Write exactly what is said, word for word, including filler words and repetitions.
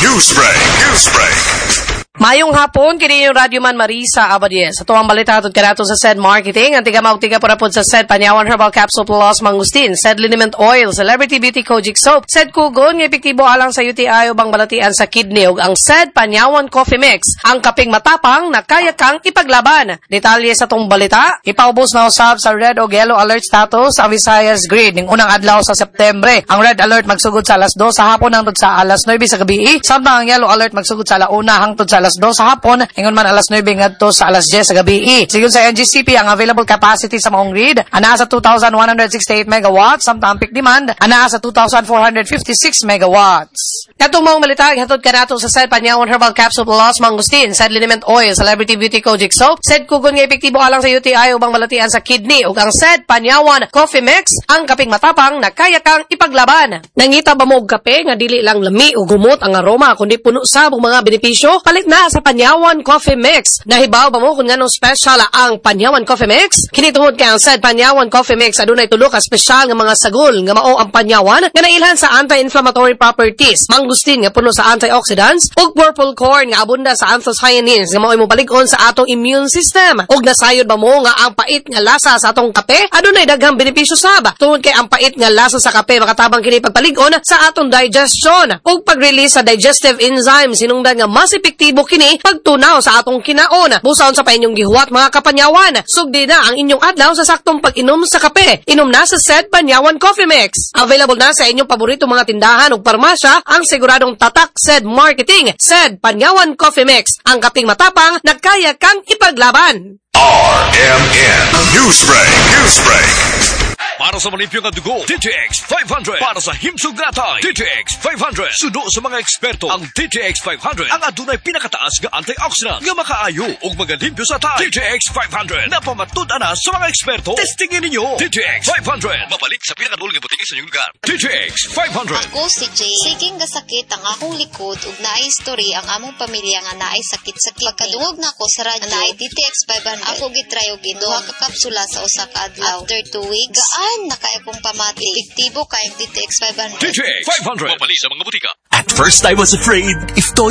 Newsbreak, Newsbreak. Mayong hapon, kini yung Radyoman Marisa Abadies. Sa tuwang balita hatod kanato sa SED Marketing, ang tiga tiga pura pod sa SED Panyawan Herbal Capsule Plus Mangustin, SED Liniment Oil, Celebrity Beauty Kojic Soap, SED Kugon nga epektibo alang sa U T I ubang balatian sa kidney ug ang SED Panyawan Coffee Mix, ang kaping matapang na kaya kang ipaglaban. Detalye sa tong balita, ipaubos na usab sa red o yellow alert status ang Visayas Grid ning unang adlaw sa Septembre. Ang red alert magsugod sa alas dos sa hapon hangtod sa alas nuwebe sa gabi, samtang ang yellow alert magsugod sa alauna hangtod sa alas dos sa hapon, ingon man alas nuwebe ngadto sa alas diyes sa gabi. Sigon sa N G C P, ang available capacity sa maong grid anaa sa two thousand one hundred sixty-eight megawatts, samtang ang peak demand anaa sa two thousand four hundred fifty-six megawatts. Katong maong balita, hatod kanato sa SED Panyawan Herbal Capsule Plus Mangustin, SED Liniment Oil, Celebrity Beauty Kojic Soap, SED Kugon nga epektibo alang sa U T I ubang balatian sa kidney ug ang SED Panyawan Coffee Mix, ang kaping matapang na kaya kang ipaglaban. Nangita ba mo og kape nga dili lang lami ug humot ang aroma kundi puno sab og mga benepisyo? Palit na sa Panyawan Coffee Mix. Nahibaw ba mo kung nganong special ang Panyawan Coffee Mix? Kini tungod kay ang SED Panyawan Coffee Mix adunay tulo ka espesyal nga mga sagol nga mao ang Panyawan nga nailhan sa anti-inflammatory properties, mangustin nga puno sa antioxidants ug purple corn nga abunda sa anthocyanins nga mao'y mopalig-on sa atong immune system. Ug nasayod ba mo nga ang pait nga lasa sa atong kape adunay daghang benepisyo sab? Tungod kay ang pait nga lasa sa kape, makatabang kini pagpalig-on sa atong digestion ug pag-release sa digestive enzymes, hinungdan nga mas epektibo kini pagtunaw sa atong kinaon. Busa unsa pa inyong gihuwat, mga kapanyawan? Sugdi na ang inyong adlaw sa saktong pag-inom sa kape. Inom na sa SED Panyawan Coffee Mix. Available na sa inyong paborito mga tindahan ug parmasya ang siguradong tatak SED Marketing. SED Panyawan Coffee Mix, ang kaping matapang na kaya kang ipaglaban. R M N Newsbreak, Newsbreak. Para sa malimpyo nga dugo, D T X five hundred. Para sa himsog nga atay, D T X five hundred. Suno sa mga eksperto, ang D T X five hundred ang adunay pinakataas nga antioxidant nga makaayo ug magalimpyo sa atay. D T X five hundred. Napamatud-an na sa mga eksperto. Testingin ninyo. D T X five hundred. Mabalik sa pinakaduol nga botika sa inyong lugar. D T X five hundred. Ako si Jay. Siging gasakit ang akong likod ug naay history ang among pamilya nga naay sakit sa kidney. Pagkadungog nako sa radyo nga naay D T X five hundred, ako gitry og inom duha ka kapsula sa usa ka adlaw. After two weeks, gaan na kaayo kong pamati. Epektibo kaayong D T X five hundred. D T X five hundred. Mabalik sa mga botika. At first I was afraid if Toyo